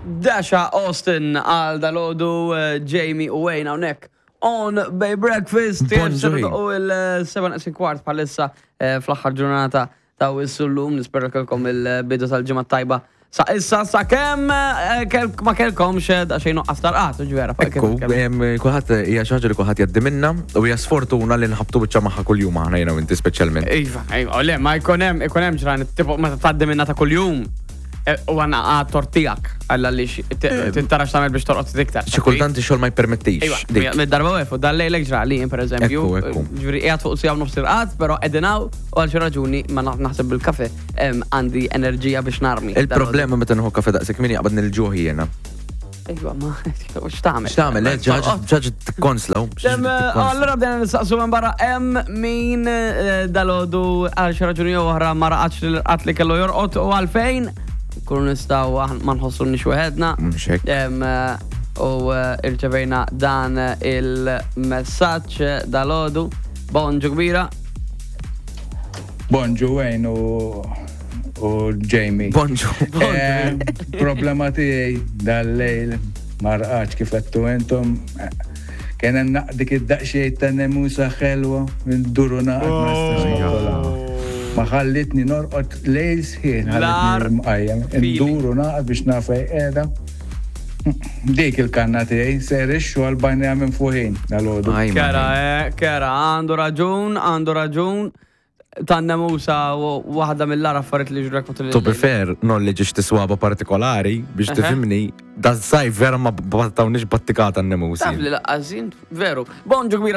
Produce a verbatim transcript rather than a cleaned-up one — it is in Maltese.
Dasha Austin għal dalodu eh, Jamie u Wayne hawnhekk on Bay Breakfast. Bonġu. U il-seba naqsin kwart bħalissa eh, fl-aħħar ġurnata ta' wissu l-lum, nispera kelkom il-bidu tal-ġimgħa tajba. Sa issa sa kemm eh, kel- ma kelkomx eh, daqsxejn nuqqas tarqat, ġvera. Ekku, em, kulħadd hija xi ħaġa li kulħadd jgħaddi minna u hija sfortuna li nħabtu biċċa magħha kuljum aħna jiena u inti speċjalment. Iva, iva, le, ma jkun hemm ikun hemm ġranet, tipo meta tgħaddi minna ta' kuljum. eh, U għanna għad tortijak, għalla li tintarax tagħmel biex torqod iktar. Xi kultant ix-xogħol ma jpermettix. Iva, dik. mid-darba u dal-lejlek ġrali, per eżempju. Ekku, ekku. Ġifieri, qiegħed fuq siegħa u nofs irqad, però edinaw u għal xi raġuni ma naf naħseb bil-kafe em, għandi enerġija biex narmi. Il-problema meta nieħu kafe daqshekk min jaqbad nil-ġuħ jiena. Iva, ma x'tagħmel? X'tagħmel, eh? Ġaġ ġaġ tikkonsla. Em, Allora bdejna nistaqsu minn barra hemm min eh, dalodu għal xi raġuni jew oħra ma raqadx l-irqad li kellu jorqod u għalfejn kunu nistgħu aħna ma nħossu weħedna. Mhux hekk. Em, eh, U eh, irċevejna dan il-messaġġ dalodu. Bonġu kbira. Bonġu Wayne u, u Jamie. Bonġu. Eh, Problema tiegħi dal-lejl ma rqadx kif għedtu intom. Eh, Kien hemm naq- dik id-daqsxejn ta' nemusa ħelwa minn duru naqad ma nistax noqtolha. Ma ħallitni norqod lejl sħiħ, Lar ħallitni mqajjem. feeling. Induru naqad biex naf fejn qiegħda. Dik il-kanna tiegħi ser ix-xogħol bajnejja minn fuħin dal-għodu. Aj, ma. Kera, eh, kera, għandu raġun, għandu raġun. Tan-nemusa waħda mill-agħar affarijiet li ġrek matul To be fair, knowledge tiswaba partikolari biex Eħe. tifhimni, da sajf vera ma battawniex battikata n-nemusi. Taf li laqqazin, veru. Bonġu kbira.